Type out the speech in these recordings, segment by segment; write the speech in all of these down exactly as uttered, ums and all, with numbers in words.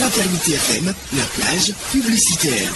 Fraternité F M, la plage publicitaire.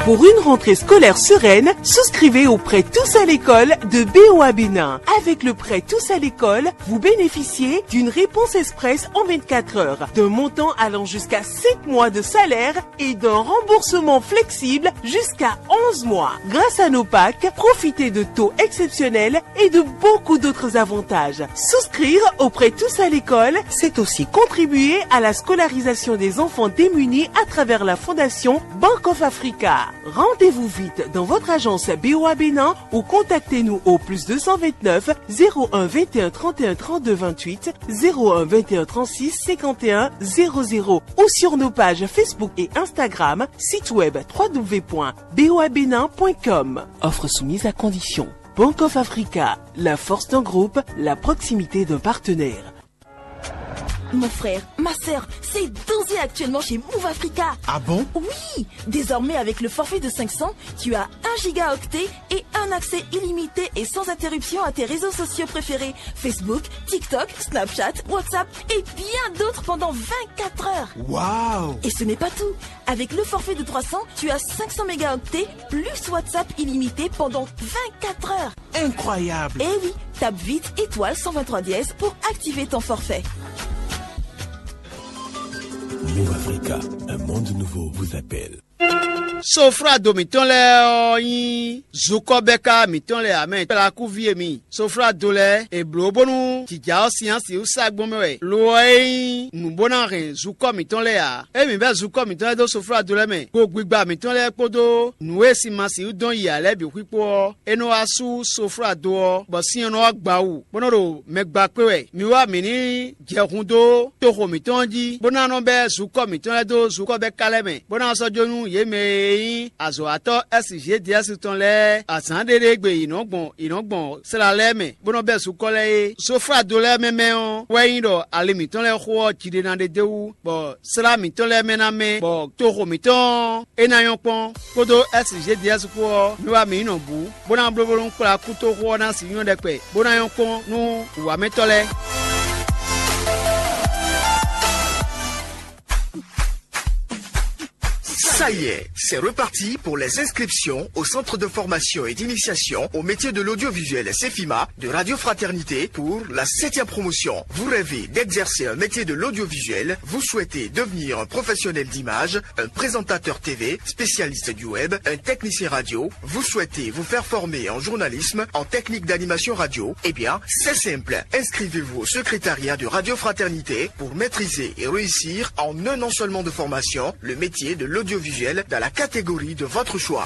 Pour une rentrée scolaire sereine, souscrivez au prêt Tous à l'école de B O A Bénin. Avec le prêt Tous à l'école, vous bénéficiez d'une réponse express en vingt-quatre heures, d'un montant allant jusqu'à sept mois de salaire et d'un remboursement flexible jusqu'à onze mois. Grâce à nos packs, profitez de taux exceptionnels et de beaucoup d'autres avantages. Souscrire au prêt Tous à l'école, c'est aussi contribuer à la scolarisation des enfants démunis à travers la fondation Bank of Africa. Rendez-vous vite dans votre agence B O A Bénin ou contactez-nous au plus deux cent vingt-neuf, zéro un vingt et un trente et un trente-deux vingt-huit, zéro un vingt et un trente-six cinquante et un zéro zéro ou sur nos pages Facebook et Instagram, site web trois W point B O A Bénin point com. Offre soumise à condition. Bank of Africa, la force d'un groupe, la proximité d'un partenaire. Mon frère, ma sœur, c'est danger actuellement chez Move Africa. Ah bon ? Oui, désormais avec le forfait de cinq cents, tu as un gigaoctet et un accès illimité et sans interruption à tes réseaux sociaux préférés, Facebook, TikTok, Snapchat, WhatsApp et bien d'autres pendant vingt-quatre heures. Waouh ! Et ce n'est pas tout. Avec le forfait de trois cents, tu as cinq cents mégaoctets plus WhatsApp illimité pendant vingt-quatre heures. Incroyable ! Eh oui, tape vite étoile cent vingt-trois dièse pour activer ton forfait. Move Africa, un monde nouveau vous appelle. Soflado mǐtɔn lɛ́ɛ ɔ́ nyí zukɔ́bɛ́ká mǐtɔn lɛ́ɛ ǎ mɛ kplakúví e mi. Soflado lɛ́ɛ è blǒ bónú jǐjá ɔ́ sín asi wú sá gbɔn mɛ wɛ lo ɔ́ é nyí nǔ bó ná hɛn zukɔ́ mǐtɔn lɛ́ɛ ǎ. Ée mǐ bɛ́ zukɔ́ mǐtɔn lɛ́ɛ dó soflado lɛ́ɛ mɛ, gogbigba mǐtɔn lɛ́ɛ kpódó nǔ e sin ma sixú dɔn yi ǎ lɛ́ɛ bǐ xwíkpó ɔ́, é nɔ wá sú soflado ɔ́, bɔ sin ɔ́ nɔ wá gba wú, bó nɔ́ ɖo mɛ gba kpé wɛ. Mi wá mǐ ní jɛ hun dó toxo mǐtɔn ɔ́ jí, bó ná nɔ bɛ́ zukɔ́ mǐtɔn lɛ́ɛ dó zukɔ́ bɛ́ ka lɛ́ɛ mɛ, bó ná sɔ́ jó nú yě mɛ e nyí azɔ̌watɔ́ S G D S tɔn lɛ́ɛ azǎn ɖé ɖé gbe yě nɔ gbɔn yě nɔ gbɔn sla lɛ́ɛ mɛ, bó nɔ́ bɛ́ zukɔ́ lɛ́ɛ é. Soflado lɛ́ɛ mɛ mɛ ɔ́ wɛ nyí ɖɔ ali mǐtɔn lɛ́ɛ xo ɔ́ jí ɖé ná ɖe d'é wú, bɔ slá mǐtɔn lɛ́ɛ mɛ ná mɛ, bɔ toxo mǐtɔn ɔ́ é ná nyɔ́ kpɔ́n, kpódó S G D S kpó ɔ́, mi wá mǐ yi nɔ bǔ, bó ná bló bónú kplá kútoxo ɔ́ ná sixú nyɔ́ ɖɛkpɛ, bó ná nyɔ́ kpɔ́n nú wǔwamɛtɔ́ lɛ́ɛ. Ça y est, c'est reparti pour les inscriptions au centre de formation et d'initiation au métier de l'audiovisuel CEFIMA de Radio Fraternité pour la septième promotion. Vous rêvez d'exercer un métier de l'audiovisuel, vous souhaitez devenir un professionnel d'image, un présentateur T V, spécialiste du web, un technicien radio, vous souhaitez vous faire former en journalisme, en technique d'animation radio ? Eh bien, c'est simple. Inscrivez-vous au secrétariat de Radio Fraternité pour maîtriser et réussir en un an seulement de formation le métier de l'audiovisuel dans la catégorie de votre choix.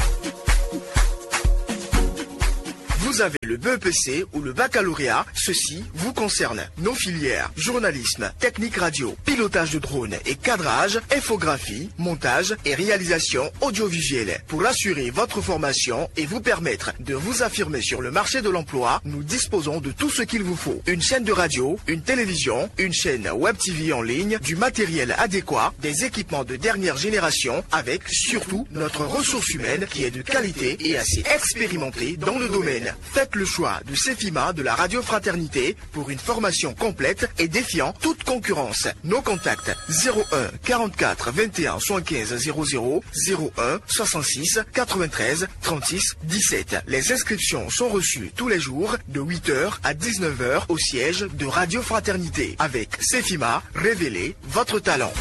Vous avez le B E P C ou le baccalauréat, ceci vous concerne. Nos filières, journalisme, technique radio, pilotage de drone et cadrage, infographie, montage et réalisation audiovisuelle. Pour assurer votre formation et vous permettre de vous affirmer sur le marché de l'emploi, nous disposons de tout ce qu'il vous faut. Une chaîne de radio, une télévision, une chaîne web T V en ligne, du matériel adéquat, des équipements de dernière génération, avec surtout notre ressource humaine qui est de qualité et assez expérimentée dans le domaine. Faites le choix de CEFIMA de la Radio Fraternité pour une formation complète et défiant toute concurrence. Nos contacts : zéro un quarante-quatre vingt et un soixante-quinze zéro zéro, zéro un soixante-six quatre-vingt-treize trente-six dix-sept. Les inscriptions sont reçues tous les jours de huit heures à dix-neuf heures au siège de Radio Fraternité. Avec CEFIMA, révélez votre talent.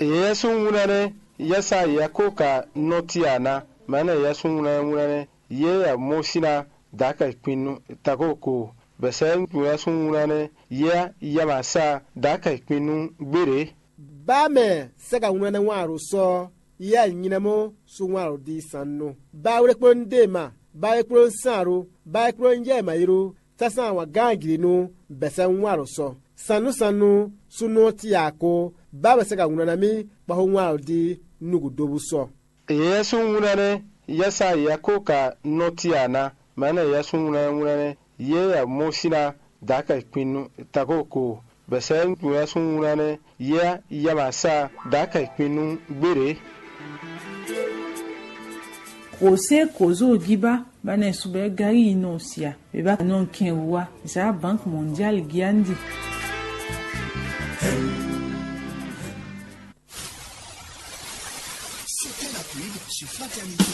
Yɛsúnwúnánɛ́ yɛsa yɛkóka nɔtí ana mɛnɛ yɛsúnwúnánɛ́ yɛ mɔsíná daka kpinnu takoko bɛsɛ yɛsúnwúnánɛ́ yɛ yamasa daka kpinnu gbére. Bá mɛ sɛ́ ka wlán ná wán aɖo sɔ́ yɛ nylɛ́ mɔ sú wán aɖo dí sannú. Bá wlé kplɔ́n dé ma, bá wlé kplɔ́n sán aɖo, bá wlé kplɔ́n yɛ ma yró, sásán wǎn gán jlǐ nú bɛsɛ wán aɖo sɔ́. Sannú sannú súnnu ɔ́ cí ǎ kó, bá mɛ sɛ́ ka wlán ná mì kpáxó wán aɖo dí nú gǔdo bú sɔ́. Yɛsúnwúnánɛ́ yɛsa yɛkóka nɔtí ana mɛnɛ yɛsúnwúnánɛ́ yɛ mɔsíná daka kpinnu takoko bɛsɛ yɛsúnwúnánɛ́ yɛ yamasa daka kpinnu gbére. Kò sé kò zó gíba ba nɛ subɛ gari yi nɔ sia. Beba nɔ kɛn wa za Banque Mondiale giandi. C'était la pub sur Fraternité.